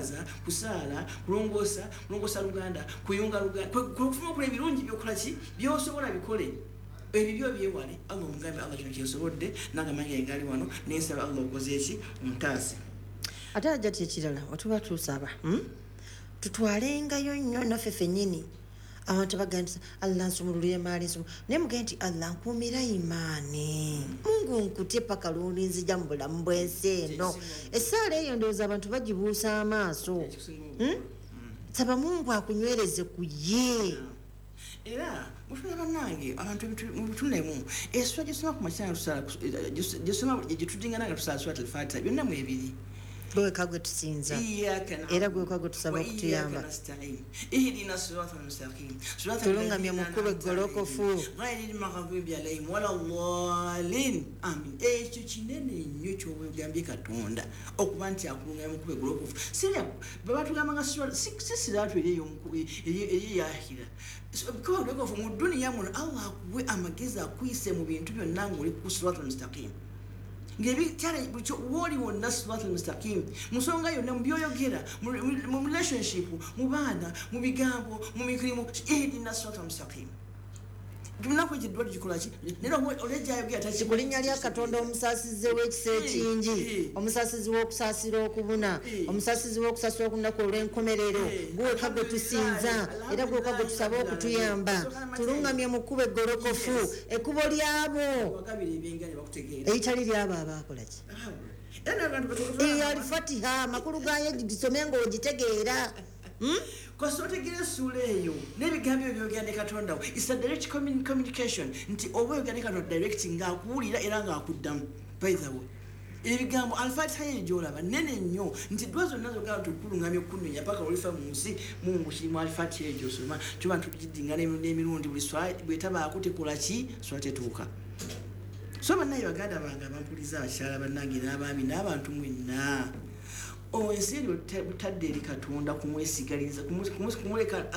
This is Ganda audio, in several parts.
Kwebaza, kusaala, kulongoosa, kulongoosa luganda, kuyunga luganda, kufuma okola ebirungi byokola ki byosobola bikole, ebibyo byewale. Allah omugambe, Allah, kino kyensobodde nange amanyi gali wano, nensaba Allah okoze eki, ontaase. Ate ajja ti ekirala, otuba tusaba, Tutwalengayo nnyo naffe ffennyini. Abantu bagamba nti Allah nsumulula emaali, nsumu, naye mugende nti Allah nkuumira imaani, Mungu nkutye paka lwolinzija mu bulamu bw'ensi eno. Essaala eyo ndowooza abantu bagibuusa amaaso. Saba Mungu akunywereze ku ye. Era mutula bannange, abantu mubitunemu esula gyesoma ku makya, tusala gyesoma gyetudingana nga tusala Surat Alfatiha, byonna mu ebiri. Gweweka gwe tusinza era gweweka gwe tusaba okutuyamba. Ihdina sirata almustaqim. Tulungamye mu kkubo eggolokofu. Ghairi lmaghdubi alayhim wala ddalin, amin. Ekyo kinene nnyo kyobwegambye Katonda okuba nti akulungamya mu kkubo eggolokofu. Sirya babatugamba nga si siratu eri eyahira kuba golokofu mu duniya muno. Allah akuwe amagezi, akuyise mu bintu byonna ngaoli ku siratu almustaqim, wooli wonna sirat almustaqim, musonga yonna, mubyoyogera, mu relationship, mu baana, mu bigambo, mu mirimu. Ihdina sirat almustaqim. Lunaku ekyo eddwa tugikolaki? Naye olwejjayogera. Ku linnya lya Katonda omusaasizi w'ekisa ekingi, omusaasizi w'okusaasira okubuna, omusaasizi w'okusaasira okunaku olw'enkomerero, gweweka gwe tusinza era gweweka gwe tusaba okutuyamba. Tulungamye mu kkubo eggolokofu, ekkubo lyabo wagabira ebyenganya bakutegeera eritali lyabo abaakolaki. Era n'abantu Eyo Alifatiha amakulu gayo gisome ng'ogitegeera. Kosa otegeera essuula eyo n'ebigambo ebyo byogera ne Katonda we. It's a direct communication nti oba oyogera ne Katonda direct, ng'akuwulira era ng'akuddamu. By the way, ebigambo Alfatiha eyo gyolaba nene nnyo, nti dwa zonna zogamba nti okulungamya okunonya paka olifa mu nsi, Mungu kirimu Alfatiha eyo gyosoma. Tuba tugidinga n'emirundi, buli swala bwetabaako tekola ki, swala tetuuka. So bannaye, baganda bange abampuliza, abakyala bannange n'abaami n'abantu mwenna, ensi eri butadde eri Katonda, kumwesigaliza, kumuleka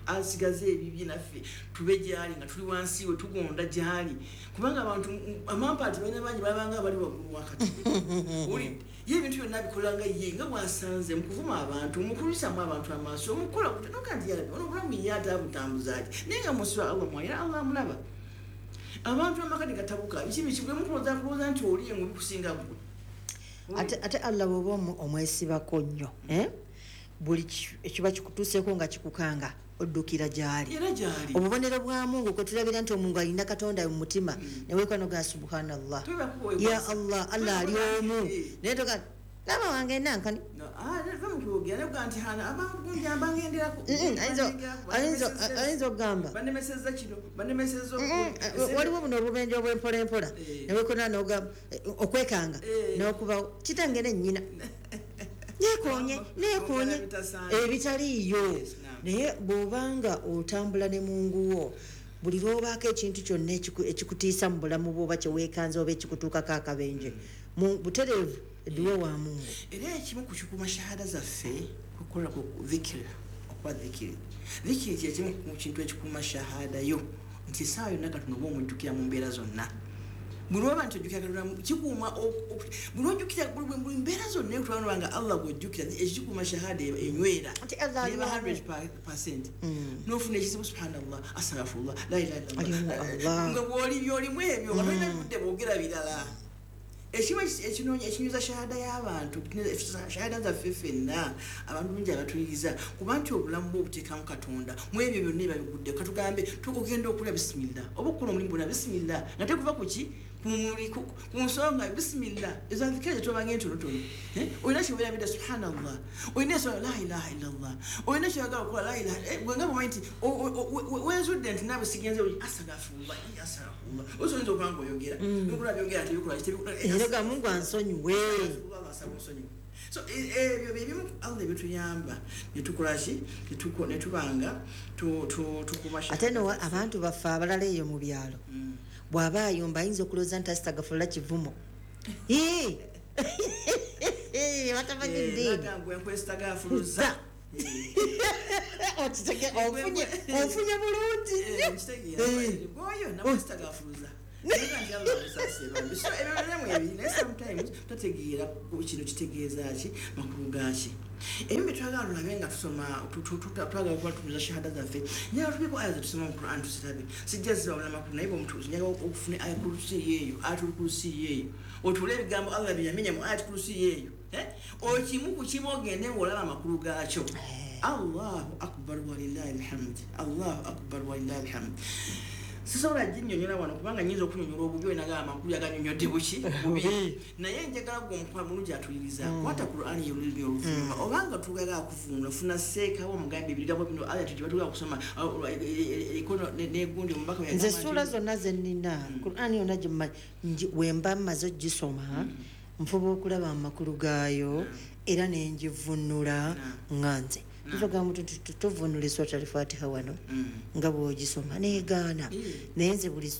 asigaze ebibye, naffe tube gyali nga tuli wansi we, tugonda gyali, kubanga abantu amampaati balina bangi babanga bali waggulu wa Katonda. Owulidde? Ye ebintu byonna abikolanga ye nga bwasanze, mukuvuma abantu, mukulwisamu abantu amaaso, mukukola noga nti yalabi ono obulamu ye ate abutambuza ati, naye nga musula Allah mwalira, Allah amulaba. Abantu amaka negatabuka, biki biki, bwe mukulowooza kulowooza nti oli emubi kusinga ggwe. Ate Allah bw'oba omwesibako nnyo, eh? Buli ekiba kikutuuseeko nga kikukanga, oddukira gy'ali. Era gyali. Obubonero bwa Mungu kwe tulabira nti omungu alina Katonda mu mutima, newekwa noga subhanallah, ya Allah, Allah ali omu. Naye toga laba wange nankani. Nti abangenderako. Ayinza okugamba banemeseza kino, banemeseza. Waliwo buno obubenje obwempola empola, newekona nogamba okwekanga n'okubawo kitange nennyina nekonye nekonye ebitaliiyo. Naye bw'obanga otambula ne Mungu wo, buli lwobaako ekintu kyonna ekikutiisa mu bulamu bwo, oba kyeweekanze, oba ekikutuukako akabenje, mu butereevu edduwa wa Mungu. Era ekimu ku kikuuma shahada zaffe kukola ku dhikiri, okuba dhikiri. Dhikiri kyekimu ku kintu ekikuuma shahada yo, nti essaawa yonna Katonda oba omujjukira mu mbeera zonna. Buli lwoba nti ojjukira Katonda, kikuuma buli lwojjukira buli mbeera zonna ekutwala nga Allah gwojjukira, ekyo kikuuma shahada enywera. Nti Allah ali neba wamu. 100%. Nofuna ekizibu, subhanallah, astaghfirullah, la ilaha Ali mu illallah. Allah. Nga bwoli byolimu ebyo nga tolina budde bwogera birala. Ekimu ekinoonya ekinyuza shahada y'abantu, shahada zaffe ffenna abantu bungi abatuliriza, kuba nti obulamu bwe obuteekamu Katonda mu ebyo byonna ebabigudde. Katugambe ogenda okulya, bisimillah, oba okukola omulimu gwonna, bisimillah, nga tekuva ku ki, ku nsonga, bisimillah. Ezo adhikari zetobanga entonotono. Eh? Olina kyewerabidde, subhanallah. Olina ensonga, la ilaha illallah. Olina kyoyagala okukola, la ilaha. Gwe nga bwomanyi nti wenzudde nti naawe sigenze, astagfirullah, astagfirullah. Oyinza okuba nga oyogera nokula byogera tebikola tebikola. Era ga Mungu ansonyiwe. So ebyo byebimu Allah ebituyamba netukolaki, netubanga tukuma. Ate no abantu baffe abalala eyo mu byalo, bw'aba ayomba ayinza okulowooza nti asitagafulula kivumo. Ii! Batamanyi ddiini. Nagambwe nkwesitagafuluza. Ofunye bulungi nnyo. Oyo nakwesitagafuluza. So ebyo sometimes tategeera kino kitegeeza ki, makulu gaaki. Ebimu bye twagala tulabe nga tusoma, twagala okuba tutuuza shahada zaffe, njagala tubeko aya zetusoma mu Quran tuzirabe. Sijja zibawula makulu, naye bweomutuuzi njagala okufuna aya kurusiyo eyo, ayatul kurusiyo eyo, otuule ebigambo Allah bye yamenya mu ayatul kurusiyo eyo, okimu ku kimu ogende ng'olaba amakulu gaakyo. Allahu akbar walillahi alhamd, Allahu akbar walillahi alhamd. Sisobola ginnyonnyola wano kubanga nnyinza okunyonnyola obubi, olina amakulu aganyonnyodde buki bubi, naye njagala gwe omukwano mulungi atuliriza kwata Qur'ani y'olulimi oluvuuma, obanga tugala kuvvuunula, funa seekawo omugambe ebigambo bino aya gye batugala kusoma eriko n'egundi omubaka. Nze essuula zonna ze nnina, Qur'ani yonna gye wemba mmaze ogisoma, nfuba okulaba amakulu gaayo era ne ngivvuunula nga nze. Tugamba tuvvuunula essuula Al-Fatiha wano nga bw'ogisoma negaana, naye nze buli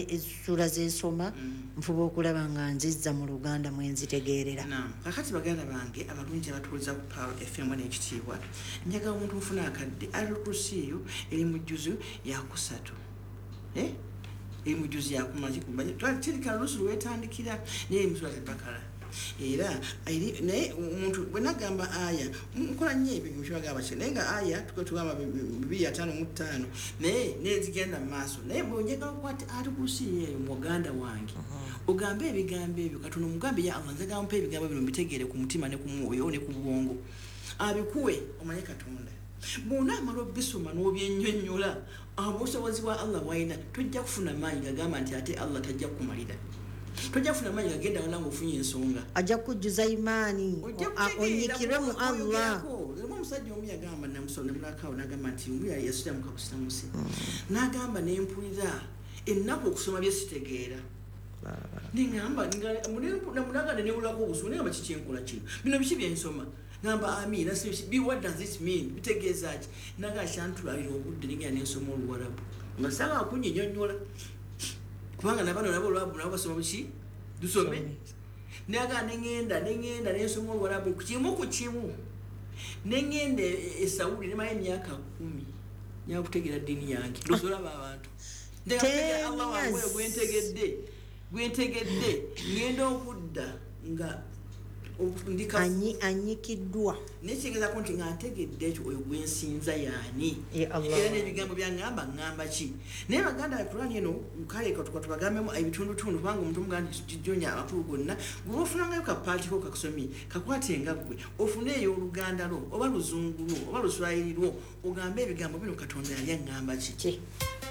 essuula zensoma nfuba okulaba nga nzizza mu Luganda mwe nzitegeerera. Kakati baganda bange abalungi abatuuliza ku Pearl FM n'ekitiibwa, njagala omuntu ofuna akadde Ayatul Kursiyo eri mu jjuzu yakusatu, eri mu jjuzu yakumaki kirika lusu lwetandikira, naye eri mu Surat Al-Bakara. Era naye omuntu bwe nagamba aya nkola nnyo ebyo kyebagamba ki, naye nga aya tugamba 255, naye nezigenda mu maaso. Naye bwe njagala okukwata Ayatul Kursiyo eyo, muganda wange, ogambe ebigambo ebyo Katonda, omugambe ya Allah, njagala mpa ebigambo bino mbitegeere ku mutima ne ku mwoyo ne ku bwongo, abikuwe omanye Katonda. Bw'onaamala obisoma n'obyennyonnyola obusobozi bwa Allah bwalina, tojja kufuna maanyi gagamba nti ate Allah tajja kukumalira, tojja kufuna maanyi gagenda wala ng'ofunye ensonga. Ajja kujjuza imaani, onyikirwe mu Allah. Omu omusajja omu yagamba, namulakawo, n'agamba nti omu yasiramuka busiramusi, n'agamba nempulira ennaku okusoma bye sitegeera, neŋamba namunaga newulako obusubu, nengamba kikyenkola kino, bino biki byensoma? Ngamba amina, what does it mean, bitegeeza ki? Naga kyantwalira obudde nengenda nensoma Oluwarabu nga saagala kunyinyonnyola, kubanga nabano nabo Oluwarabu nabo basoma buki tusome. Naga nengenda nensoma Oluwarabu kimu ku kimu, nengenda e Saudi nemala emyaka 10 nyakutegeera ddiini yange. Losolaba abantu ntegeera Allah wange gwentegedde, ngenda okudda nga anyikiddwa. Nekitegeezako nti nga ntegedde ekyo, oyo gwensinza yaani, era n'ebigambo byaŋŋamba ŋŋamba ki. Naye baganda ba Kurani eno, kale katubagambemu ebitundutundu, kubanga omuntu omugamba nti gijonya amakulu gonna, gwe ofunangayo kapaatiko kakusomye, kakwate nga ggwe ofune ey'Oluganda lwo oba Luzungu lwo oba Luswayiri lwo, ogambe ebigambo bino Katonda yali aŋŋamba ki.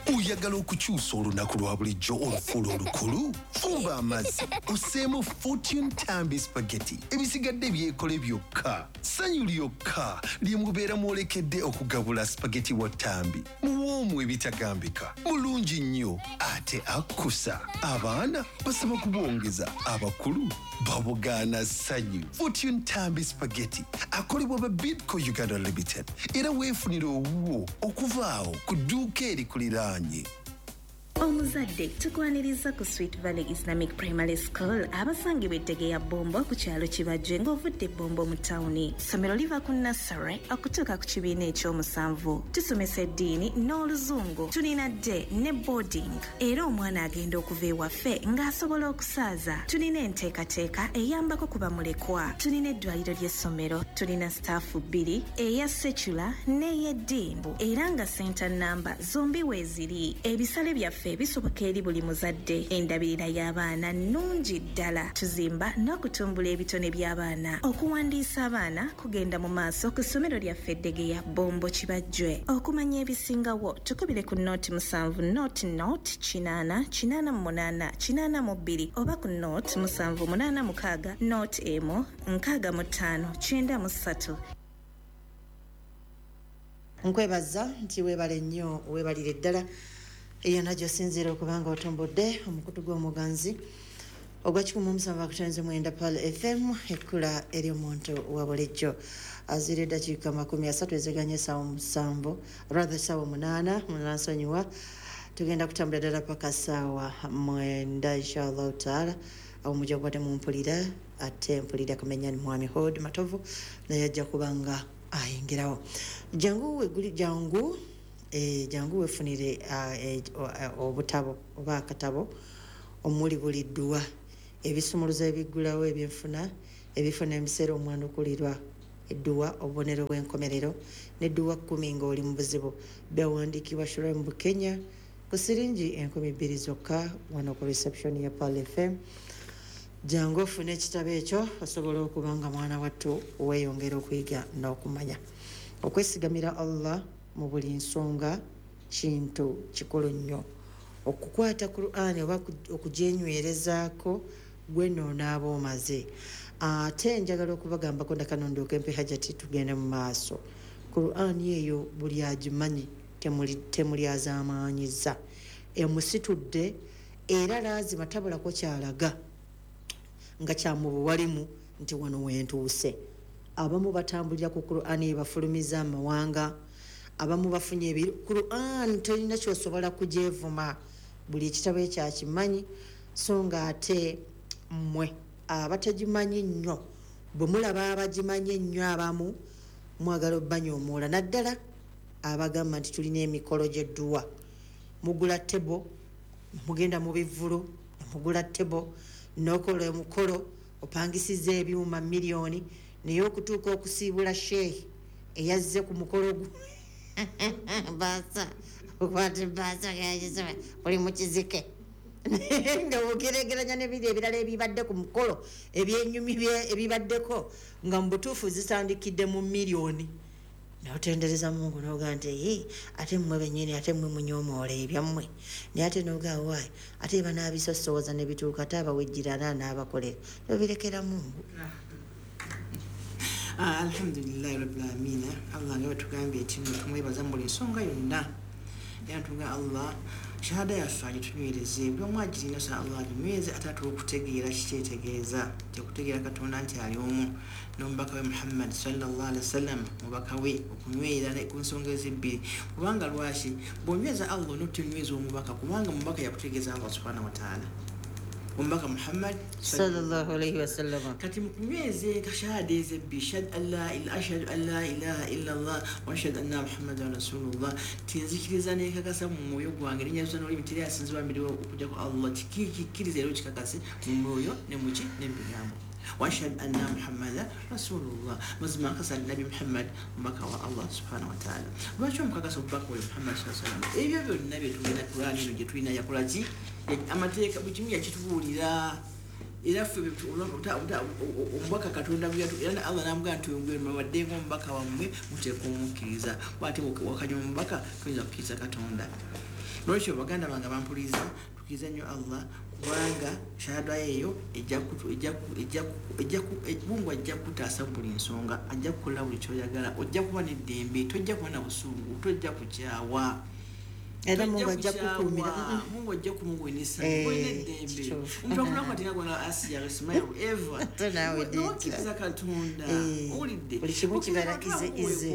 Oyagala okukyusa olunaku lwa bulijjo olufuula olukulu? Fumba amazzi osseemu Fortune Tambi Spaghetti, ebisigadde byekole byokka. Ssanyu lyokka lye mubeera mwolekedde okugabula spaghetti wa Tambi. Muwoomu ebitagambika, mulungi nnyo ate akkusa. Abaana basaba kubongeza, abakulu babugaana ssanyu. Fortune Tambi Spaghetti akolebwa ba Bidco Uganda Limited, era weefunire owuwo okuva awo ku dduuka erikuliraanye. Omuzadde, tukwaniriza ku Sweet Valley Islamic Primary School, abasangibwa ettege ya Bombo ku kyalo Kibajje ng'ovudde Bombo mu tawuni. Ssomero liva ku nursery okutuuka ku kibiina ekyomusanvu. Tusomesa eddiini n'Oluzungu. Tulina day ne boarding, era omwana agenda okuva ewaffe ng'asobola okusaaza. Tulina enteekateeka eyambako ku bamulekwa. Tulina eddwaliro ly'essomero. Tulina staff bbiri, eya secular n'ey'eddiini, era nga center namba zombi weeziri. Ebisale byaffe bisoboka eri buli muzadde. Endabirira y'abaana nnungi ddala. Tuzimba n'okutumbula ebitone by'abaana. Okuwandiisa abaana kugenda mu maaso ku ssomero lyaffe Eddegeya, Bombo, Kibajjwe. Okumanya ebisingawo, tukubire ku 07 00 80 88 82 oba ku 07 86 01 65 93. Nkwebaza nti weebale nnyo, weebalire ddala yonna gy'osinziira okuba nga otumbudde omukutu gw'omuganzi ogwa 107.9 Pearl FM, ekkula ery'omuntu wa bulijjo. Azira eddakiika 30 eziganye essaawa 7, rather essaawa 8, munansonyiwa. Tugenda kutambula ddala paka ssaawa 9, inshallahu taala. Awo mujja kuba temumpulira, ate mpulira kamenya ni mwami Hod Matovu, naye ajja kuba nga ayingirawo. Jangu weguli, jangu, jangu wefunire obutabo oba akatabo. Omuli buli dduwa, ebisumuluzo ebiggulawo ebyenfuna, ebifo n'ebiseera omwanukulirwa edduwa, obubonero bw'enkomerero n'edduwa 10 ng'oli mu buzibu. Byawandiikibwa Shurem Bukenya ku siringi 2000 zokka wano ku reception ya Pearl FM. Jangu ofune ekitabo ekyo osobola okuba nga mwana wattu weeyongera okuyiga n'okumanya. Okwesigamira Allah mu buli nsonga kintu kikulu nnyo. Okukwata Qur'an oba okugyenywerezaako gwe n'onaaba omaze. Ate njagala okubagambako ndakano ndyoke mpe Hajati tugende mu maaso. Qur'an eyo buli agimanyi temulyazaamaanyiza, emusitudde era laazima tabulako kyalaga nga kyamubuwalimu nti wano wentuuse. Abamu batambulira ku Qur'an ebafulumiza amawanga, abamu bafunye ebiri. Qur'an terina kyosobola kugyevuma, buli ekitabo ekyakimanyi. So nga ate mmwe abatagimanyi nnyo, bwe mulaba abagimanyi ennyo abamu mwagala obbanyoomola, naddala abagamba nti tulina emikolo gy'edduwa. Mugula tebo, mugenda mu bivvulu, mugula tebo, n'okola omukolo, opangisiza ebyuma miliyoni, naye okutuuka okusiibula sheikh eyazze ku mukolo gwo baasa okwata baasa gagisoma buli mu kizike nga ogeregeranya n'ebiri ebirala ebibadde ku mukolo ebyenyumi ebibaddeko nga mu butuufu zitandikidde mu miliyoni. N'otendereza Mungu n'ogaa nti ee ate mmwe bennyini ate mmwe munyoomoola ebyammwe, naye ate n'ogaa waayi ate banaabisosowoza ne bituuka ate abawejjirana n'abakolera obirekera Mungu. Alhamdulillahi rabbil alamin. Allah nga batugambye nti tumwebaza mu buli nsonga yonna, era tuga Allah shahada yaffe agitunywereze, buli omu agirina sa Allah aginyweze, ate atuwe okutegeera kikyetegeeza tekutegeera Katonda nti ali omu n'omubaka we Muhammad sallallahu alaihi wasallam, mubaka we okunywera ku nsonga ezebbiri. Kubanga lwaki bw'onyweza Allah n'otunyweza omubaka, kubanga omubaka yakutegeeza Allah subhanahu wa ta'ala, omubaka Muhammad sallallahu alaihi wasallam. Kati mukunyweze kashahada ezebbiri, ashhadu an la ilaha illa Allah wa ashhadu anna Muhammadan rasulullah, tinzikiriza nekakasa mu mwoyo gwange nenyazuza n'olulimi teri asinzibwa mbere okujjako Allah, kikkiriza era okikakase mu mwoyo ne muki ne mu bigambo. Wa ashhadu anna Muhammadan rasulullah, mazima nkakasa Nabi Muhammad omubaka wa Allah subhanahu wa ta'ala. Lwaki omukakasa omubaka we Muhammad sallallahu alaihi wasallam? Ebyo byonna bye tulina Qur'an eno gye tulina yakola ki? Amateeka buli kimu yakitubuulira. Era ffe omubaka Katonda era Allah n'amugamba nti mubadde ng'omubaka wammwe muteekwa omukkiriza, bw'ate wakanya omubaka toyinza kukkiriza Katonda. Lwekyo baganda bange bampuliriza, tukkiriza nnyo Allah, kubanga shahada eyo Mungu ajja kutaasa buli nsonga, ajja kukola buli ky'oyagala, ojja kuba n'eddembe, tojja kuba na busungu, tojja kukyawa. Era Mungu ajja kukuumira, Mungu ajja kumuwenesa, olina eddembe. Omuntu akulako gona Asiya Ismail Eva n'okkiriza Katonda, owulidde buli kimu kibeera ize.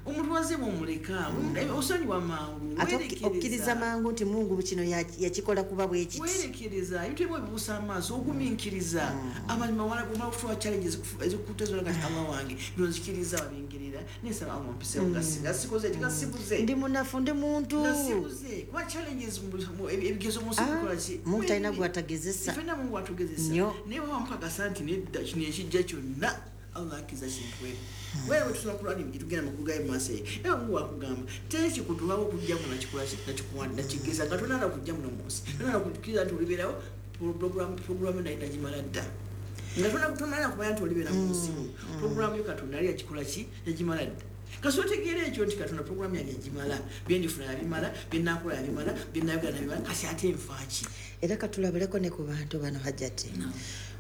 Omuntu wazze bw'omuleka osonyiwa mangu, ate okkiriza mangu nti Mungu kino yakikola kuba bwe kiti, weerekereza ebintu ebimu ebibuusa amaaso, ogumiikiriza amazima, omala kufuwa challenges ezikutezola nga Allah wange bino nzikiriza wabingirira nesaba Allah mpisewo nga sikoze kigasibuze, ndi munafu, ndi muntu nasibuze kuba challenges ebigezo mu nsi bikola ki? Mungu talina gw'atagezesa, ffenna Mungu atugezesa, naye bw'aba mukakasa nti nedda kino ekijja kyonna Allah akkiriza kintu wewe tusoma Qur'ani tugenda mu kugaye mu maaso eyo, era Mungu akugamba teri kikutuwawo okujja muno nakikola ki nakigeza nga tonala kujja muno mu nsi, tonala kukkiriza nti olibeerawo programu naye nagimala dda, nga tonala kumanya nti olibeera mu nsi muno, programu yo Katonda yali yakikola ki yagimala dda. Kasi otegeera ekyo nti Katonda programu yange yagimala, byendifuna yabimala, byenakola yabimala, byenayogera nabimala, kasi ate nfaaki? Era katulabuleko ne ku bantu bano Hajati.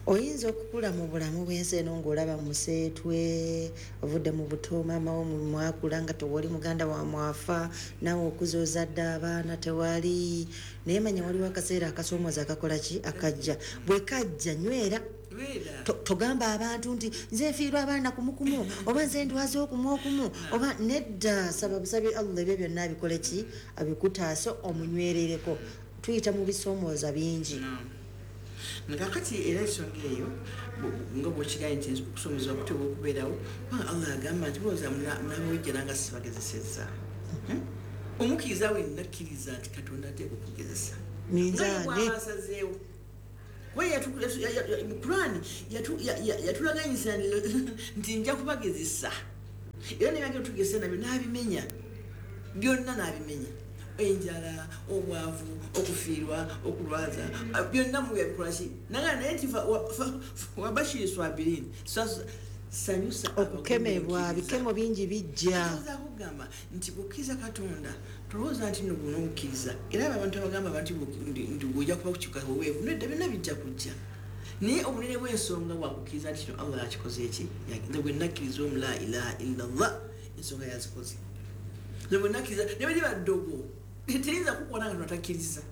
Oyinza okukula mu bulamu bw'ensi eno ng'olaba museetwe, ovudde mu buto, maama wo mwakula nga tewali muganda wa mwafa, naawe okuza ozadde abaana tewali, naye manya waliwo akaseera akasoomooza akakola ki akajja. Bwe kajja nywera, togamba abantu nti nze nfiirwa abaana kumukumu oba nze ndwaze okumu okumu oba nedda, saba busabi Allah ebyo byonna abikole ki abikutaase omunywerereko. Tuyita mu bisoomooza bingi. Kakati era ensonga eyo nga bw'okigambye nti okusomezebwa kuteekwa okubeerawo, kubanga Allah agamba nti mulowooza munaabawejjera nga sibagezesezza. Omukkiriza wenna akkiriza nti Katonda ateekwa okugezesa. Minzaani. Asazeewo. Mu Kurani yatulaganyisa nti nja kubagezesa, era nebagenda tugezesa nabyo n'abimenya byonna, n'abimenya enjala, obwavu, okufiirwa, okulwaza, byonna mu yabikolaki naga. Naye nti wabashiri swabirin, sanyusa. Okukemebwa, bikemo bingi bijja. Kugamba nti kukkiriza Katonda, tolowooza nti no guno okkiriza. Era abo abantu abagamba abantu nti ojja kuba kukyuka weweevu, nedda, byonna bijja kujja, naye obunene bw'ensonga bwakukkiriza nti kino Allah yakikoze eki. Nze bwe nakkiriza omu, la ilaha illallah, ensonga yazikoze. Nze bwe nakkiriza, ne bwe liba ddogo, teyinza kukwata nga totakkiriza.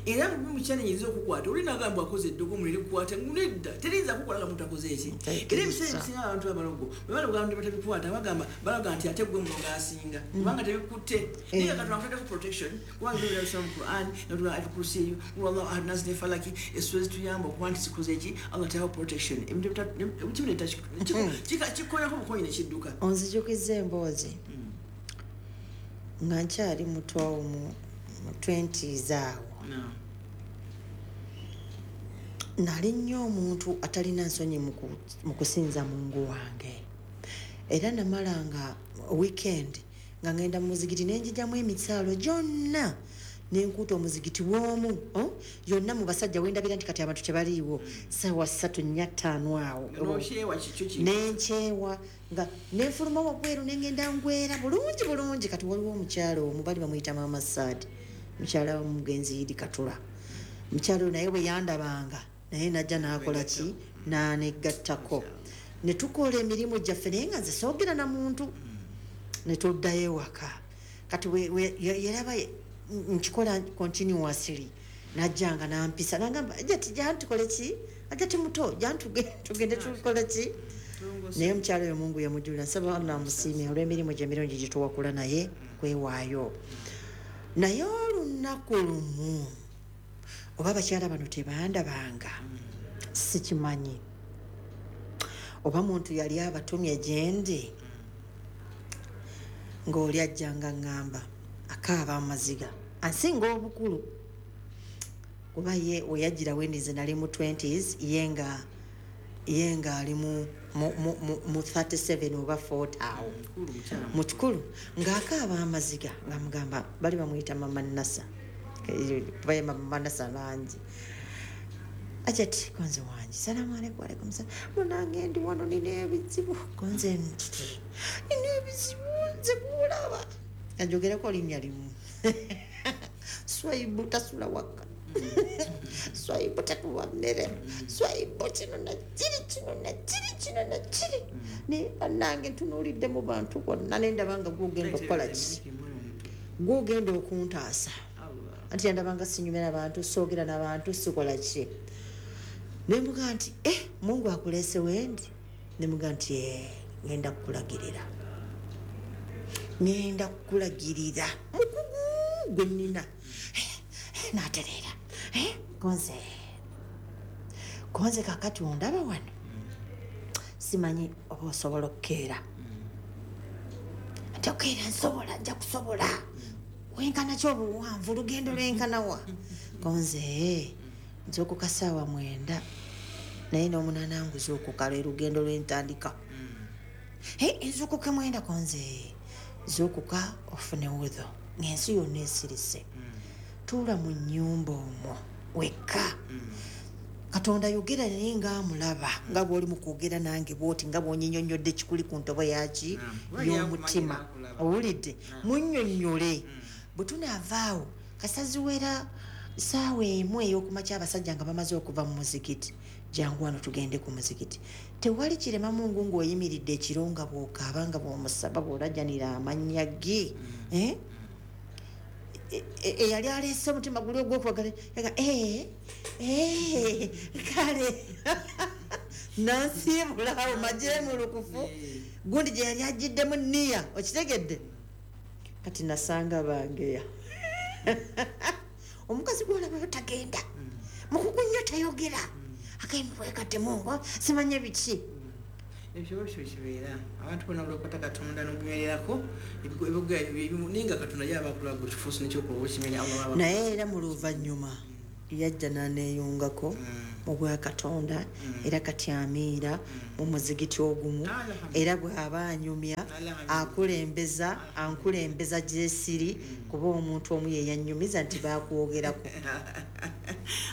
Era mukyanenyiza okukwata oli nagamba akoze eddogo mulirikukwata, nedda, teriyinza kukwata nga muntu akoze eki. Era ebiseera ebisinga abantu abalogo bwe baloga abantu batabikwata, bagamba, balaga nti ate gwe mulogo asinga, kubanga tebikutte. Naye nga Katonda akutaddeko protection, kubanga ebyo mu Quran, natula Ayatul Kursiyu, wallahu ahad, nasi ne Falaki, essuula zituyamba okuba nti zikoze eki. Allah teekawo protection, ebintu kimu kikolako bukonyi nekidduka. Onzijukiza emboozi nga nkyali muto awo mu 20s awo. Nali nnyo omuntu atalina nsonyi mu kusinza Mungu wange, era namalanga weekend nga ngenda mu muzigiti, nenjijamu emisaalo gyonna, nenkuuta omuzigiti w'omu, oh, yonna mu basajja wendabira nti kati abantu tebaliiwo, saawa 3, 4, 5 awo. Nokyewa kikyo ki. Nenkyewa nga nenfuluma wabweru, nengenda ngwera bulungi bulungi. Kati waliwo omukyalo omu bali bamuyita Mama Saadi, mukyala womugenzi Yidi Katula. Mukyalo oyo naye bwe yandabanga, naye najja n'akola ki, n'anegattako, ne tukola emirimu gyaffe, naye nga nze soogera na muntu, ne tuddayo ewaka. Kati yaraba nkikola continuously, najjanga nampisa, nagamba, "Ajati, jantukole ki, ajati muto, jantugende tukole ki." Naye omukyalo oyo Mungu yamujulira. Nsaba Allah amusiime olw'emirimu gye emirungi gye tuwakula naye kwewaayo. Naye olunaku lumu, oba abakyala bano tebandabanga, sikimanyi, oba muntu yali abatumye gyendi, ng'oli ajjanga ŋŋamba, akaaba amaziga, ansinga obukulu, kuba ye weyajjira wendi nze nali mu 20s, ye nga ali mu 37 oba 40 awo. Mukikulu, ng'akaaba amaziga, nga mugamba, bali bamuyita Mama Nasa, kuba Mama Nasa bangi. Ajati, konze wangi, salamu aleikum. Alaikum salam. Munange, ndi wano, nina ebizibu. Konze, nina ebizibu, nze kulaba anjogerako linnya limu, Swaibu tasula waka, Swaibu tatuwa mmere, Swaibu kino nakiri, kino nakiri, kino nakiri. Naye bannange, ntunuulidde mu bantu bonna, nendaba nga gwogenda okukola ki, gwogenda okuntaasa. Anti yandabanga sinyumira bantu, soogera n'abantu, sikola ki. Nemuga nti, "Eh, Mungu akuleese wendi." Nemuga nti, "Eh, ngenda kukulagirira, ngenda kukulagirira mukugu gwe nnina." Eh, n'atereera. Eh, konze, konze, kakati ondaba wano, simanyi oba osobola okukeera. Ati, "Okeera nsobola, nja kusobola. Wenkana ki obuwanvu, olugendo lwenkanawa?" Konze, nzuukuka saawa 9, naye n'omunaana nguzuukuka, lwe lugendo lwentandika. Hey, nzuukuke 9. Konze, zuukuka ofune wudhu ng'ensi yonna esirise, tuula mu nnyumba omwo wekka. Katonda yogera naye ng'amulaba, nga bw'oli mu kwogera nange bwoti, nga bw'onyinyonnyodde kikuli ku ntobo yaki y'omutima. Owulidde? Munnyonnyole. Bwe tunaavaawo, kasaziwera saawa 1 ey'okumakya, abasajja nga bamaze okuva mu muzikiti, jangu wano tugende ku muzikiti. Tewali kirema Mungu ng'oyimiridde ekiro, nga bw'okaaba, nga bw'omusaba, bw'olajanira amannya ge. Eh? Eyali aleese omutima guli ogwokwagala yaga, "Eh, eh, kale," nansiibulaawo majeemulukufu gundi gye yali agiddemu niya. Okitegedde? Kati nasanga bangeya, omukazi gwolabayo tagenda mukugu nnyo, tayogera, agambibwekate Mungu, simanye biki. Ebyo kibeera abantu bonna olwokwata Katonda n'okunywererako ninga Katonda yaba akulaga ekifuusi nekyokuba okimenya Allah. Naye era mu luvannyuma yajja n'aneeyungako mu bwa Katonda, era kati amiira mu muzigiti ogumu, era bw'aba anyumya akulembeza, ankulembeza gyesiri, kuba omuntu omu ye yannyumiza nti bakwogerako.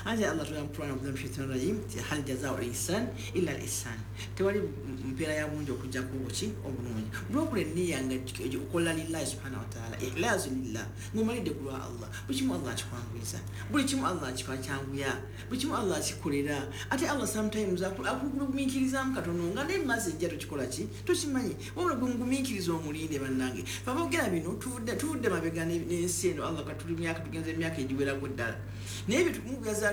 Anti Allah tugamba mu Quran, billahi shaitani rajim, nti hal jazau l-ihsan illa l-ihsan, tewali mpeera ya bungi okujjako obuki obulungi. Lwokola enniya nga okola lillahi subhanahu wataala, ikhlaasu lillah, ng'omalidde ku lwa Allah, buli kimu Allah akikwanguyiza, buli kimu Allah akikyanguya, buli kimu Allah akikolera. Ate Allah sometimes akugumiikirizaamu katono nga naye maaso ejja tokikola ki tokimanyi, wabula gwe mugumiikiriza omulinde. Bannange, fe aboogera bino tuvudde mabega n'ensi eno. Allah katuli myaka, tugenze emyaka egiwerako ddala, naye ebyo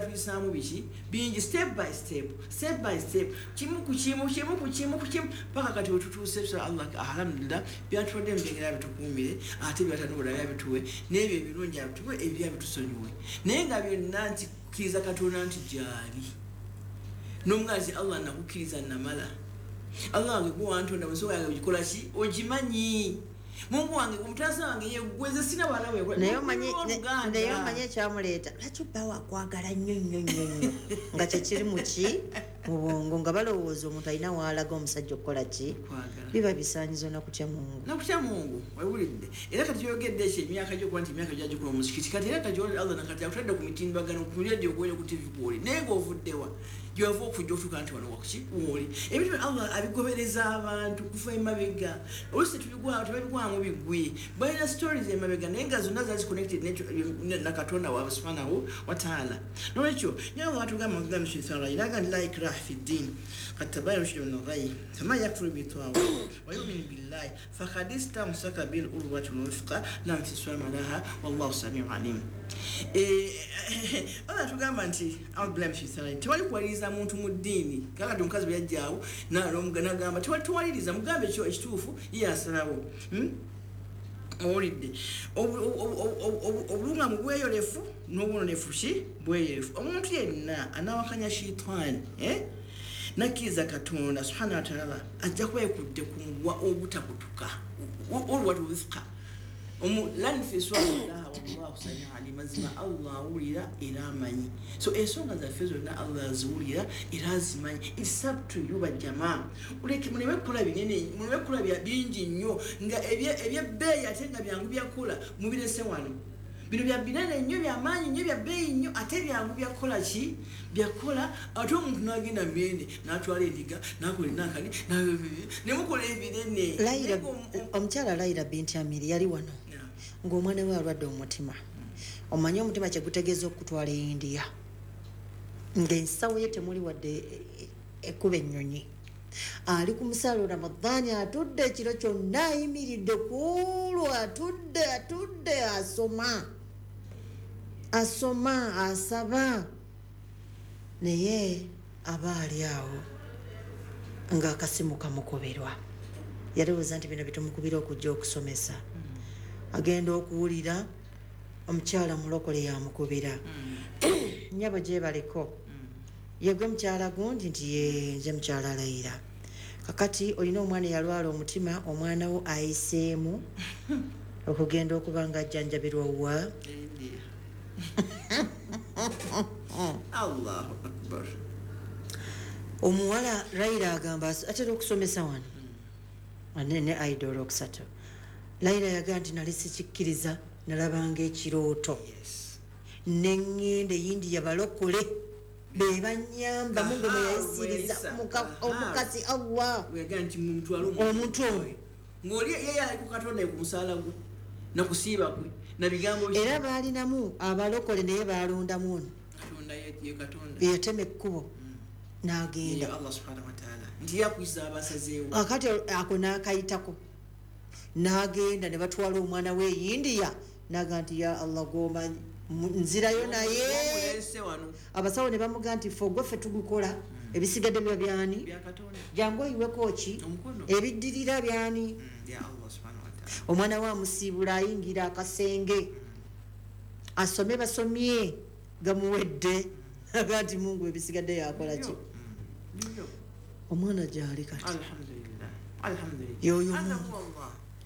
tuyisaamu biki bingi, step by step, step by step, kimu ku kimu, kimu ku kimu ku kimu, paka kati wetutuuse. So Allah alhamdulillah byatuwadde ebyengera bitukuumire, ate byatanubula byabituwe, n'ebyo ebirungi abituwe, ebyo bitusonyiwe, naye nga byonna nti kukkiriza Katonda nti gyali n'omugazi. Allah nakukkiriza namala, Allah wange gwe wantonda, ensonga yange ogikola ki ogimanyi, Mungu wange, omutaasa wange yeggweze, sina wala. Naye omanyi ekyamuleeta? Lwaki bba wakwagala nnyo nnyo nnyo nnyo nga kyekiri muki mu bwongo, nga balowooza omuntu alina waalaga omusajja okukola ki, biba bisaanyizo nakutya Mungu. Nakutya Mungu, wewulidde. Era kati kyogedde ekyo, emyaka gyokuba nti emyaka gyagikola omuzikiti, kati era kati Allah nakati akutadde ku mitimbagano, ku radio kweri, ku TV kwoli, naye ng'ovuddewa gyewava okujja otuuka nti wano wakuki woli. Ebintu bino Allah abigobereza abantu kufa emabega, oluusi tebabigwamu bigwi, balina stories emabega, naye nga zonna zali connected na Katonda waabwe subhanahu wataala. Nolwekyo nyawe watugamba naga nti la ikraha fi ddin qad tabayyana rushdu min al-ghayy faman yakfur bitaghut wa yu'min billahi faqad istamsaka bil urwati al-wuthqa la infisama laha wallahu samiu alim. Allah tugamba nti tewali kuwaliriza muntu mu ddiini. Kakati omukazi bwe yajjaawo nagamba tewali tuwaliriza, mugambe ekyo ekituufu, ye asalawo. Owulidde? Obulungamu bweyolefu n'obunonefu ki bweyolefu. Omuntu yenna anawakanya shitaani nakkiriza Katonda subhanahu wataala, ajja kuba yekudde ku muguwa ogutakutuka, urwatu wuthqa lanfiswalaha wallahu samiu alim. Mazima Allah awulira era amanyi. So ensonga zaffe zonna Allah aziwulira era azimanyi. It's up to you, bajjamaa. Uleke muleme kukola binene, muleme kukola bingi nnyo nga ebyebbeeyi ate nga byangu byakukola, mubirese wano. Bino bya binene nnyo, byamaanyi nnyo, bya bbeeyi nnyo, ate byangu byakukola ki byakukola, ate omuntu n'agenda mubinene n'atwala endiga n'akola enakani nemukola ebinene. Omukyala Laira binti Amiri yali wano ng'omwana we alwadde omutima. Omanyi omutima kyegutegeeza okutwala e India, ng'ensawo ye temuli wadde ekkuba ennyonyi. Ali ku musaalo Ramadaani, atudde ekiro kyonna, ayimiridde kuolwo, atudde atudde, asoma asoma asaba, naye aba ali awo ng'akasimu kamukuberwa. Yalowooza nti bino bitumukubira okujja okusomesa. Agenda okuwulira omukyala mulokole yamukubira, "Nnyabo, gyebaleko, yegwe mukyala gundi?" Nti, "Ye nze mukyala Layira. Kakati olina omwana eyalwala omutima, omwana wo ayiseemu okugenda okuba nga ajjanjabirwa wa?" Allahu akbar. Omuwala Layira agamba atera okusomesa wano ne aida olwokusatu. Layira yagaa nti, "Nali sikikkiriza, nalabanga ekirooto, neŋŋenda eyindiya, balokole be banyamba. Mungu mweyayisiriza omukasi Allah omuntu ono." Ng'oli ye ali ku Katonda, ku musaala gwe nakusiiba kwe nabigambo. Era baalinamu abalokole, naye baalondamu ono. Katonda ye Katonda. Yatema ekkubo n'agenda. Allah subhanahu wataala nti yakuyisa abasazeewo. Akati ako n'akayitako n'agenda ne batwala omwana we India, naga nti, "Ya Allah, gomanyi, nzirayo." Naye abasawo ne bamugaa nti, "Fe ogwaffe tugukola, ebisigadde biba byani? Jangu oyiweko ki ebiddirira byani?" Omwana we amusiibula, ayingira akasenge asome, basomye gamuwedde, aga nti, "Mungu, ebisigadde yakola ki?" Omwana gyali kati. Alhamdulillah. Yoyo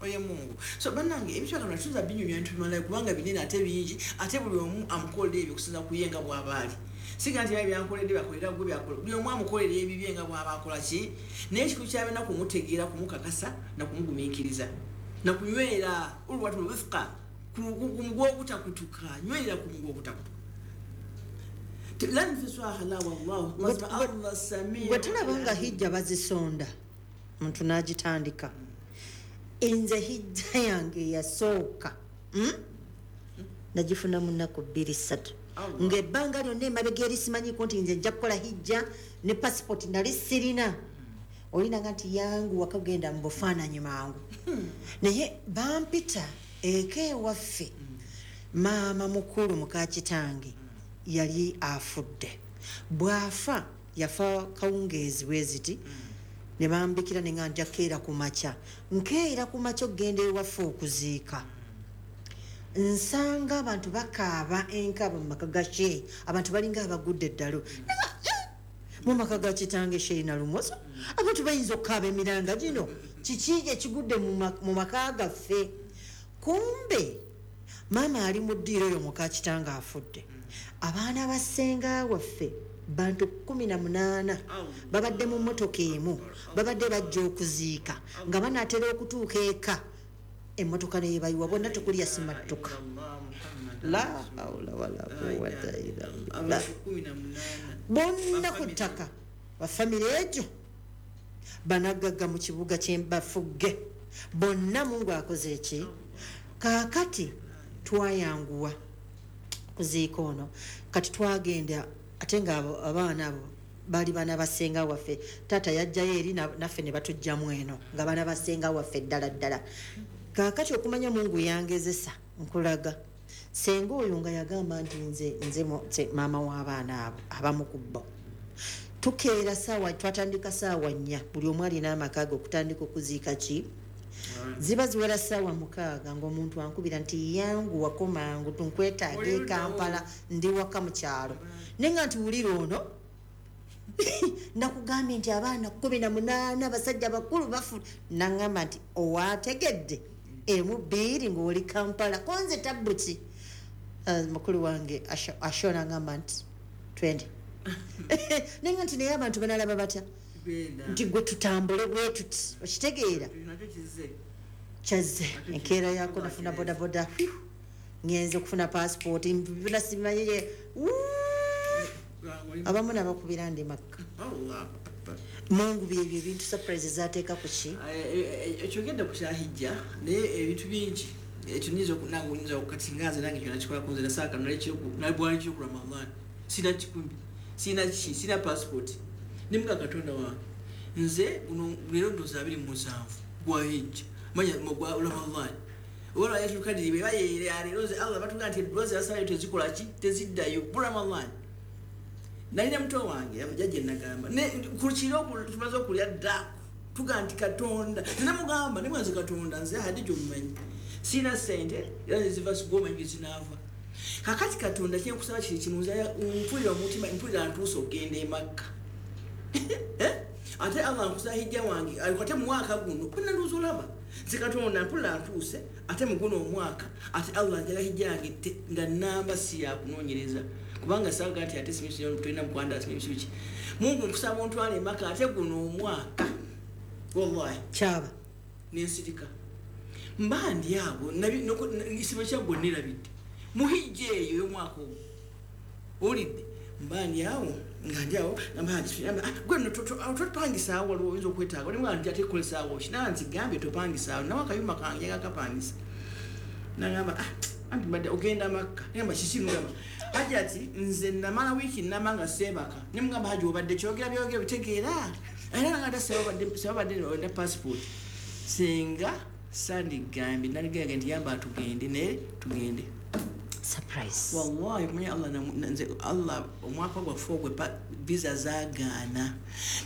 Oyo Mungu. So bannange ebyo Katonda tuza binyumya ntumala kubanga binene ate bingi, ate buli omu amukolera ebyo kusinza kuyenga bw'abaali. Siga nti byankoledde bakolera gwe byakola. Buli omu amukolera ebibye nga bw'aba akola ki? Naye ekikulu kyabena kumutegeera, kumukakasa na kumugumiikiriza. Na kunywera ulwatu wifqa ku muguwa ogutakutuka, nywera ku muguwa ogutakutuka. Lan fiswaha la wallahu mazma Allah samii. Bwe tulaba nga hijja bazisonda muntu n'agitandika. Nze hijja yange yasooka nagifuna mu nnaku 2-3 ng'ebbanga lyonna emabega eri simanyiiko nti nze nja kukola hijja ne pasipoti nali sirina. Olinanga nti yangu wakagenda mu bufaananyi mangu. Naye bampita eka ewaffe, maama mukulu muka kitange yali afudde. Bw'afa yafa kawungeezi bwe ziti, ne bambikira ne nga nja keera ku makya. Nkeera ku makya okugenda ewaffe okuziika. Nsanga abantu bakaaba enkaaba mu maka ga Sheikh, abantu balinga abagudde eddalu. Mu maka ga kitange Sheikh Nalumoso, abantu bayinza okukaaba emiranga gino. Kiki ekigudde mu maka gaffe? Kumbe maama ali mu ddiiro eyo muka kitange afudde. Abaana ba ssenga waffe bantu 18 babadde mu mmotoka emu, babadde bajja okuziika nga banaatera okutuuka eka emmotoka neyebayiwa bonna tekulya simattuka. La hawla wala quwwata illa billah. Bonna ku ttaka bafamire egyo banagagga mu kibuga kyembafugge bonna. Mungu akoze eki? Kaakati twayanguwa kuziika ono. Kati twagenda ate nga abaana abo baali baana basenga waffe. Taata yajjayo eri naffe ne batujjamu eno nga baana basenga waffe ddala ddala. Kaakati okumanya Mungu yangezesa nkulaga senga oyo nga yagamba nti nze maama w'abaana abo abamu ku bo. Tukeera saawa, twatandika saawa 4, buli omu alina amaka ge okutandika okuziika ki. Ziba ziwera saawa 6 ng'omuntu ankubira nti yangu wako mangu tunkwetaaga e Kampala, ndi waka mu kyalo. Naye nga nti wulira ono nakugambye nti abaana 18 abasajja bakulu bafu. Nangamba nti owategedde emu 2 ng'oli Kampala konze tabbuki. Mukulu wange Ashona ngamba nti twende. Naye nga nti naye abantu banalaba batya nti gwe tutambule bwe tuti, okitegeera kyazze enkeera yako nafuna bodaboda, ngenze okufuna passport byonna simanyire. Abamu nabakubira ndi Makka. Mungu byebyo ebintu surprise zateeka ku ki? Ekyogedde ku kya hijja naye ebintu bingi ekyo nyinza nange oyinza okukati nga nze nange kyona kikolako nze nasaaka nalibwali kiro ku Ramadan sina kikumi sina ki sina passport nemuga Katonda wange nze guno leero ndowooza 27 gwa hijja manya gwa Ramadan oba yatukadiri bwe bayeera leero nze Allah batuga nti eddwa ze tezikola ki teziddayo bu Ramadan. Nalina muto wange jjajja nagamba ku kiro tumaze okulya dda tuga nti Katonda nze mugamba nemwanze Katonda nze Hadija omumanyi sina ssente era ziva sigomanyi gye zinaava. Kakati Katonda kyenkusaba kiri kimu, nze mpulira omutima mpulira ntuuse okugenda e Makka. Ate Allah nkusa hijja wange ate mu mwaka guno konna ndowooza olaba nze Katonda mpulira ntuuse ate mu guno omwaka ate Allah njagala hijja yange nga namba si yakunoonyereza kubanga saaga nti ate tulina mukwanda simibiki. Mungu nkusaba ontwale e Makka ate guno omwaka wallahi kyaba nensirika mba ndi awo isibo kyaggwe nerabidde muhijja eyo y'omwaka ogwo owulidde mba ndi awo nga ndi awo gwe nno topangisaawo waliwo oyinza okwetaaga olimu nti ate kukolesaawo ki naa nti gambye topangisaawo nawe akayumba kange akapangisa nagamba anti mbadde ogenda Makka nagamba kiki mugamba Hajja ati nze namala wiiki nnamba nga seebaka ne mugamba Hajja obadde kyogera byogera bitegeera era nga sebabadde olina passport singa sandigambye naligambye nti yamba tugende naye tugende. Surprise. Wallahi kumanya Allah nze Allah omwaka gwaffe ogwe visa zaagaana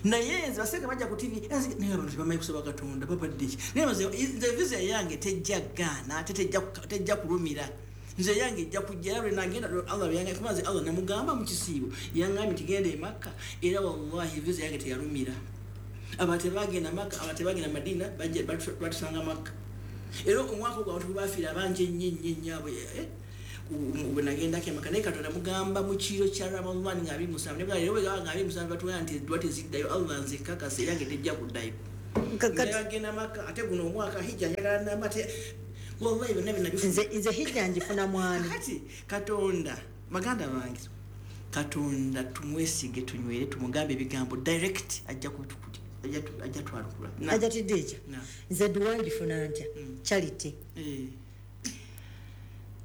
naye nze baseka bajja ku TV naye abantu tebamanyi kusaba Katonda babadde ki naye nze visa yange tejja gaana ate tejja kulumira nze yange ejja kujja era lwe nagenda Allah yange kuba nze Allah namugamba mu kisiibo yangambye nti genda e Makka era wallahi visa yange teyalumira. Aba tebagenda Makka, aba tebagenda Madina, bajja batusanga Makka. Era omwaka ogwo abantu bafiira bangi ennyo ennyo ennyo abo bwe nagendako emaka, naye Katonda mugamba mu kiro kya Ramadan nga 27, ne bw'aba nga 27 batugamba nti eddwa teziddayo, Allah nze kakasa era nga tejja kuddayo. Nagenda Makka, ate guno omwaka hijja njagala namba te wallahi byonna bye nabifuna. Nze hijja ngifuna mwani. Kati Katonda, baganda bange, Katonda tumwesige, tunywere, tumugambe ebigambo direct, ajja kubitukuli, ajja twalukula. Ajja tidija. Nze dduwa ngifuna ntya? Charity.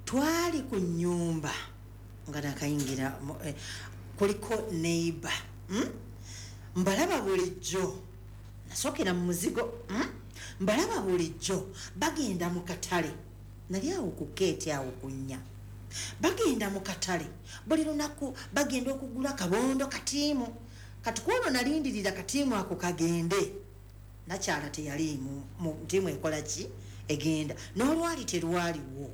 Twali ku nnyumba nga nakayingira kuliko neighbor. Mbalaba bulijjo nasookera mu muzigo. Mbalaba bulijjo bagenda mu katale, nali awo ku keeti awo ku nnya, bagenda mu katale buli lunaku, bagenda okugula kabondo katiimu. Kati kwono nalindirira katiimu ako kagende, nakyala teyaliimu mu ntiimu ekola ki egenda, n'olwali terwaliwo.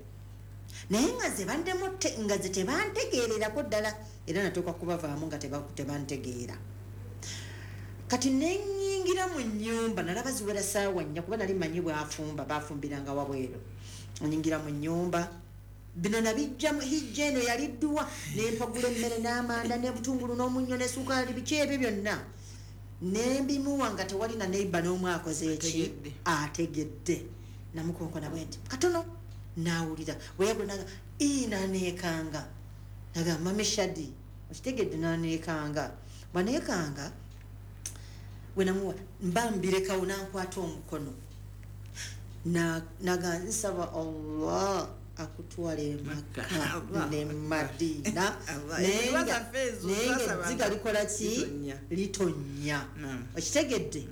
Naye nga ze bandemu nga ze tebantegeererako ddala, era natuuka kubavaamu nga tebantegeera. Kati nenyingira mu nnyumba, nalaba ziwera ssaawa 4, kuba nali mmanyi bw'afumba, baafumbiranga wabweru. Nyingira mu nnyumba, bino nabijja mu hijja eno yali dduwa, ne mpagula emmere n'amanda n'ebutungulu n'omunnyo ne sukaali, biki ebyo byonna ne mbimuwa nga tewali na neighbor n'omu akoze eki ategedde. Namukonkona bwe nti katono n'awulira, bwe yagula naga naneekanga, naga mami Shadi okitegedde, naneekanga bwaneekanga bwe namuwa mba mbirekawo, nankwata omukono naga nsaba Allah akutwale Makka ne Madina, naye ezziga likola ki litonnya, okitegedde.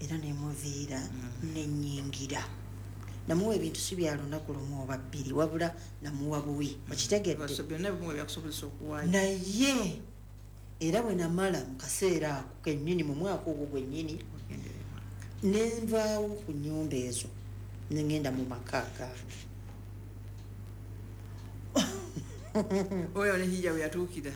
Era nemuviira nenyingira, namuwa ebintu si bya lunaku lumu oba bbiri, wabula namuwa buwi, okitegedde. Naye era bwe namala mu kaseera ako kennyini, mu mwaka ogwo gwennyini, nenvaawo ku nnyumba ezo nengenda mu maka gange. Oyo ne hijja we yatuukira.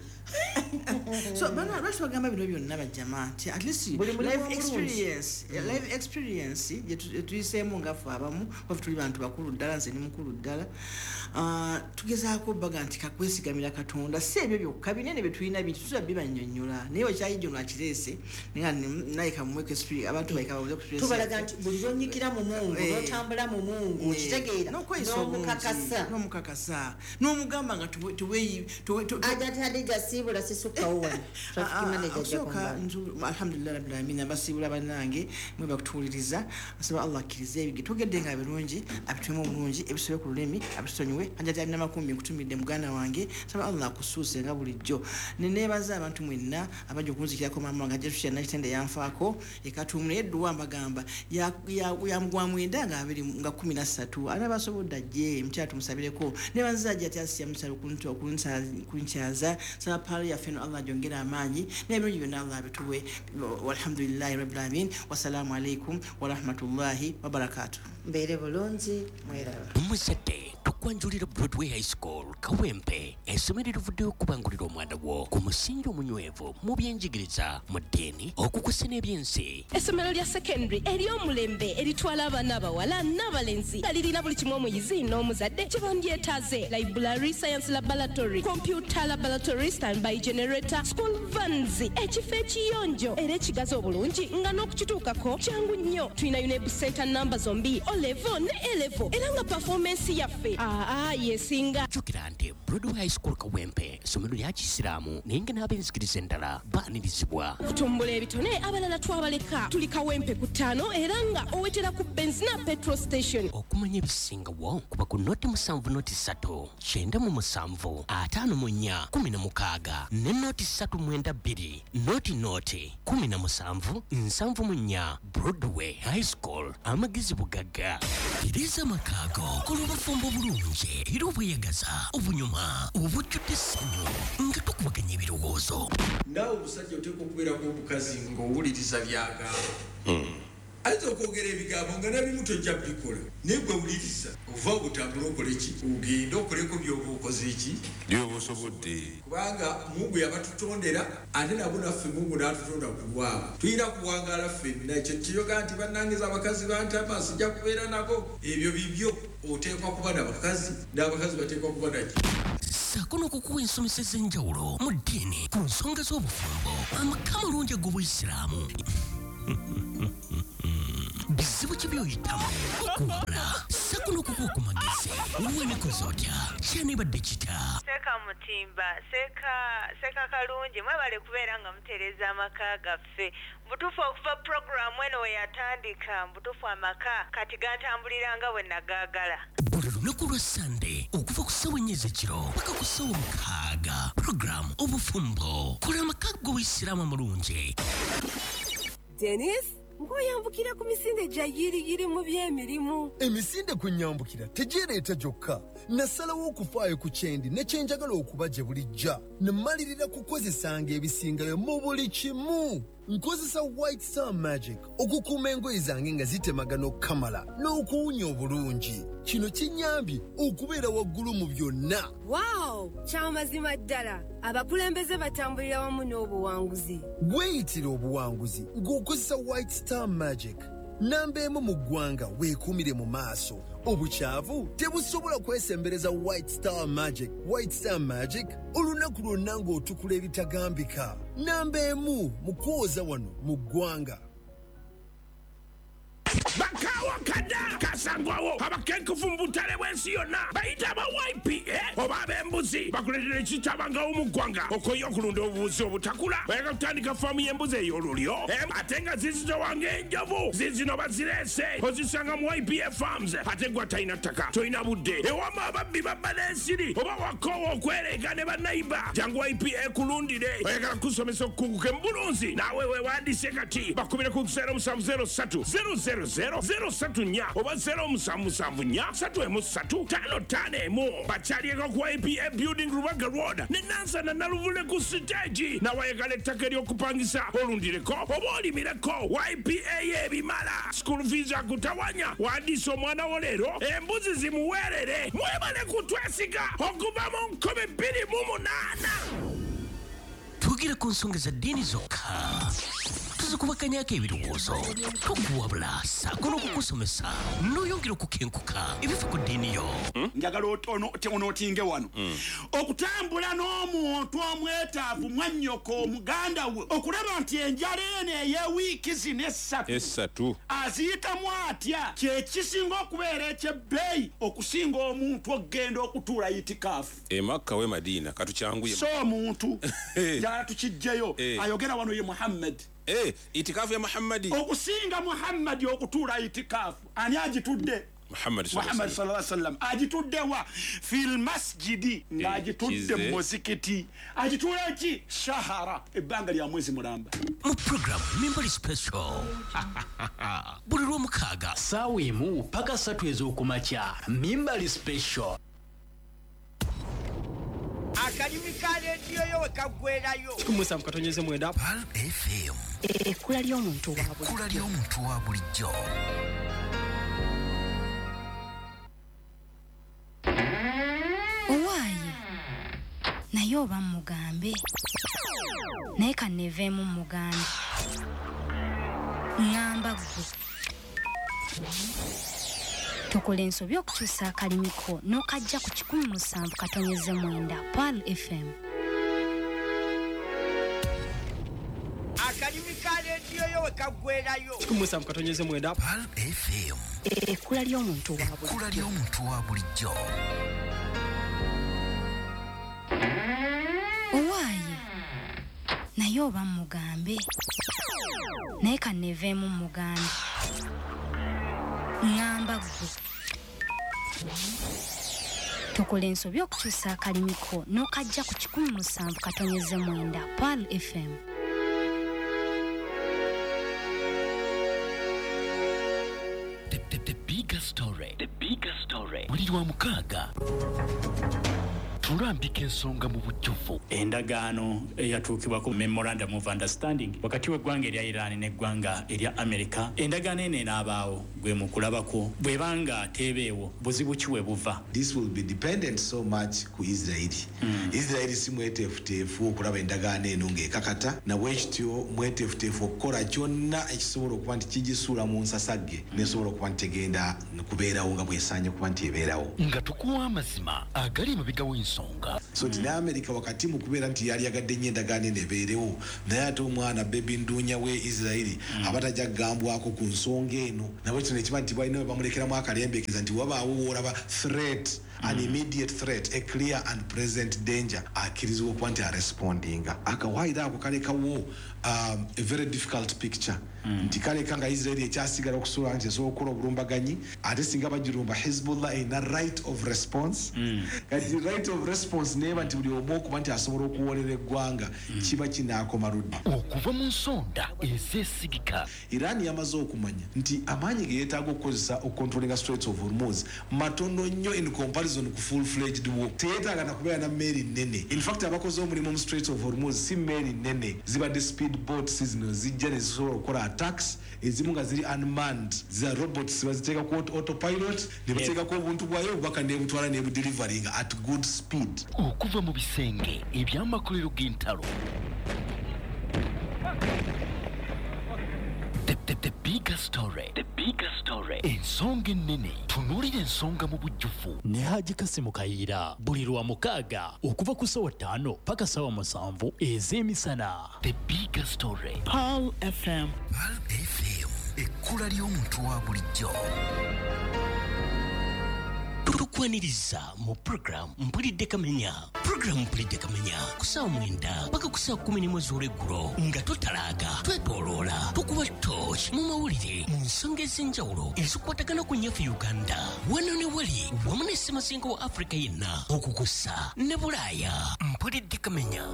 So bana lwaki bagamba bino byonna bajjama nti at least life experience, life experience gye tuyiseemu nga ffe abamu, waffe tuli bantu bakulu ddala, nze ndi mukulu ddala. Tugezaako baga nti kakwesigamira Katonda, si ebyo byokka binene bye tulina bintu tusobola bibannyonnyola, naye okyayijja ono akireese naye kamuweeko experience, abantu baleka babuze experience. Tubalaga nti buli lw'onnyikira mu Mungu, n'otambula mu Mungu, okitegeera, n'omukakasa, n'omukakasa, n'omugamba nga Ajati Hadija siibula sisukkawo wano. Traffic manager ajja kumbala. Alhamdulillah rabbil alamin, abasiibula bannange mwe bakutuwuliriza, nsaba Allah akkirize ebyo tugedde nga birungi, abituwemu obulungi, ebisobe ku lulimi abitusonyiwe. Hajati Amina Makumbi nkutumidde muganda wange, nsaba Allah akusuuse nga bulijjo. Ne neebaza abantu mwenna abajja okunzikirako maama wange Hajati Rusha Nakitende yanfaako ekatuumu, naye edduwa mbagamba ya mugwa mwenda nga 23, anabasobodde ajje mukyala tumusabireko. Neebaza Hajati Asiya Musa okunkyaza, nsaba paali yaffe eno Allah agyongere amaanyi n'ebirungi byonna Allah abituwe. Walhamdulillahi rabbil alamin, wassalaamu alaikum warahmatullahi wabarakatuh. Mbeere bulungi, mweraba. Omuzadde tukwanjulira Broadway High School Kawempe, essomero erivuddeyo okubangulira omwana wo ku musingi omunywevu mu byenjigiriza, mu ddiini, okukusa n'ebyensi. Essomero lya secondary ery'omulembe eritwala abaana abawala n'abalenzi nga lirina buli kimu omuyizi n'omuzadde kye bandyetaaze: library, science laboratory, computer laboratory, standby generator, school vans, ekifo ekiyonjo era ekigazi obulungi nga n'okukituukako kyangu nnyo. Tulina UNEB center namba zombi, O level ne A level, era nga performance yaffe yesinga. Jjukira nti Broadway High School Kawempe ssomero lya Kisiraamu, naye nga n'ab'enzikiriza endala baanirizibwa. Okutumbula ebitone abalala twabaleka. Tuli Kawempe ku 5 era nga owetera ku Benzina petrol station. Okumanya ebisingawo kuba ku 07 03 97 54 16 ne 0392 00 17 74. Broadway High School, amagezi bugagga. Tereza amakaago kola obufumbo obulungi era obweyagaza, obunyuma, obujjudde essanyu nga tukubaganya ebirowoozo. Naawe omusajja oteekwa okubeerako omukazi ng'owuliriza by'agamba. Ayinza okwogera ebigambo nga nabimu tojja bikola, naye gwe wuliriza, ova obutambula okole ki, ogende okoleko by'oba okoze ki, by'oba osobodde. Kubanga Mungu yabatutondera, ate nabo naffe Mungu n'atutonda ku lwabwe. Tulina kuwangaala ffenna. Ekyo kiyoga nti bannangiza abakazi bantama sijja kubeera nabo, ebyo bibyo. Oteekwa kuba n'abakazi, n'abakazi bateekwa kuba naki. Ssaako n'okukuwa ensomesa ez'enjawulo mu ddiini ku nsonga z'obufumbo, amaka amalungi ag'Obuyisiraamu. Bizibu ki by'oyitamu okuwabula, ssaako n'okukuwa ku magezi. Wenekoze otya? Kyanibadde kita? Seeka Mutimba, Seeka Kalungi, mwebale kubeera nga mutereeza amaka gaffe. Mbutuufu okuva puroguramu eno we yatandika, mbutuufu amaka kati gantambulira nga bwe nagaagala. Buli lunaku lwa Sande okuva ku ssaawa 4 ez'ekiro paka ku ssaawa 6, puroguramu Obufumbo, kola amaka g'Obuyisiraamu amalungi. Dennis, ng'oyambukira ku misinde gya yiriyiri mu by'emirimu. Emisinde kwe nnyambukira tegyereeta gyokka. Nasalawo okufaayo ku kyendi ne kye njagala okuba gye bulijja. Ne mmalirira kukozesanga ebisingayo mu buli kimu. Nkozesa White Star Magic okukuuma engoye zange nga zitemagana okukamala n'okuwunya obulungi. Kino kinnyambye okubeera waggulu mu byonna. Wow! Kyamazima ddala, abakulembeze batambulira wamu n'obuwanguzi. Weeyitira obuwanguzi ng'okozesa White Star Magic. Namba emu mu ggwanga weekuumire mu maaso. Obukyavu tebusobola kwesembereza White Star Magic. White Star Magic olunaku lwonna ng'otukula ebitagambika. Namba emu mu kwoza wano mu ggwanga. Bakawo kada kasangwawo abakenkufu mu butale bw'ensi yonna bayita aba YPA oba ab'embuzi bakuleetera ekitabangawo mu ggwanga okoye okulunda obubuzi obutakula. Oyagala kutandika faamu y'embuzi ey'olulyo ate nga zizitowa ng'enjovu, zizino bazireese ozisanga mu YPA Farms. Ate gwe atalina ttaka, tolina budde, ewama ababbi babba n'ensiri oba wakoowa okwereega ne bannayiba, jangu YPA kulundire. Oyagala kusomesa okukuguka mu bulunzi, naawe weewandiise kati bakubire ku 0703 000 034 oba 0774 313 551. Bakyalieko ku YPA Building Rubaga Road ne Nansana Naluvule ku siteegi. Nawayagala ettaka ery'okupangisa olundireko oba olimireko, YPA y'ebimala. School fees akutawanya, wandiisa omwana wo leero embuzi zimuweerere. Mwebale kutwesiga okuva mu 2008. Twogere ku nsonga za ddiini zokka, tuzikubakanyako ebirowoozo, tukuwabula ssaako n'okukusomesa n'oyongera okukenkuka ebifa ku ddiini yo. Njagala onootinge wano okutambula n'omuntu omwetaavu mwannyoko omuganda we, okulaba nti enjala eno ey'ewiiki zino essatu aziyitamu atya, kye kisinga okubeera eky'ebbeeyi okusinga omuntu okugenda okutuula itikaafu e Makka we Madiina. Katukyanguye so omuntu njagala tukijjeyo ayogera wano ye Muhammad. Itikafu ya Muhammadi okusinga Muhammadi okutuula itikaafu. Ani agitudde? Muhammad sallallahu alaihi wasallam. Agitudde wa? Fil masjidi, ng'agitudde mu muzikiti. Agituula ki? Shahara, ebbanga lya mwezi mulamba. Mu program Mimbali Special buli Lwomukaaga ssaawa 1 paka 3 ez'okumakya. Mimbali Special. Akalimi ka leediyo yo we kaggwerayo. 17.9 Pearl FM. Ekkula ly'omuntu wa bulijjo. Ekkula ly'omuntu wa bulijjo. Owaaye, naye oba mugambe, naye kanneeveemu mugambe. Ŋŋamba ggwe tokola ensobi okukyusa akalimiko n'okajja ku 17.9 Pearl FM. Akalimi ka leediyo yo we kaggwerayo. 17.9 Pearl FM. Ekkula ly'omuntu wa bulijjo. Ekkula ly'omuntu wa bulijjo. Owaaye, naye oba mugambe, naye kanneeveemu mugambe. Ŋŋamba ggwe tokola ensobi okukyusa akalimiko n'okajja ku 17.9 Pearl FM. The bigger story. The bigger story. Buli Lwamukaaga Tulambika ensonga mu bujjuvu. Endagaano eyatuukibwako, memorandum of understanding, wakati w'eggwanga erya Iran n'eggwanga erya America, endagaano eno enaabaawo gwe mu kulabako? Bw'ebanga teebeewo, buzibu ki we buva? This will be dependent so much ku Israeli. Israeli si mweteefuteefu okulaba endagaano eno ng'ekakata, nabwekityo mweteefuteefu okukola kyonna ekisobola okuba nti kigisuula mu nsasagge, nesobola okuba nti tegenda kubeerawo nga bwesaanye okuba nti ebeerawo. Nga tukuwa amazima agali emabega w'ensonga. So nti ne America wakati mu kubeera nti yali yagadde nnyo endagaano eno ebeerewo, naye ate omwana bebi nduunya we Israeli aba tajja kugambwako ku nsonga eno. Nabwekityo nekiba nti balina we bamulekeramu akalembekeza nti wabaawo woolaba threat, an immediate threat, a clear and present danger, akkirizibwa okuba nti arespondinga. Akawaayiro ako kalekawo a very difficult picture, nti kaleka nga Israeli ekyasigala okusobola nti esobola okukola obulumbaganyi, ate singa bagirumba, Hezbollah erina right of response. Kati right of response neeba nti buli omu okuba nti asobola okuwolera eggwanga, kiba kinaakoma ludda? Okuva mu nsonda ezeesigika. Iran yamaze okumanya nti amaanyi ge yeetaaga okukozesa okucontrollinga Straits of Hormuz matono nnyo in comparison ku full fledged war. Teyeetaaga nakubeera na mmeeri nnene. In fact, abakoze omulimu mu Straits of Hormuz si mmeeri nnene, zibadde speed boats zino zijja ne zisobola okukola attacks, ezimu nga ziri unmanned, za robots, baziteeka ku autopilot ne bateekako obuntu bwayo, obubaka nebutwala nebudeliveringa at good speed. Okuva mu bisenge eby'amakolero g'entalo. The bigger story. The bigger story. Ensonga ennene. Tunuulira ensonga mu bujjuvu. Ne Haji Kasimu Kayiira buli lwa mukaaga okuva ku ssaawa 5 paka ssaawa 7 ez'emisana. The bigger story. Pearl FM. Pearl FM. Ekkula ly'omuntu wa bulijjo. Tukwaniriza mu program Mpulidde Kamenya. Program Mpulidde Kamenya ku ssaawa 9 paka ku ssaawa 11 z'olweggulo, nga totalaaga, twetooloola, tukuba torch mu mawulire mu nsonga ez'enjawulo ezikwatagana ku nnyaffe Uganda, wano ne wali, wamu ne ssemazinga wa Afrika yenna, okukussa ne Bulaaya. Mpulidde Kamenya.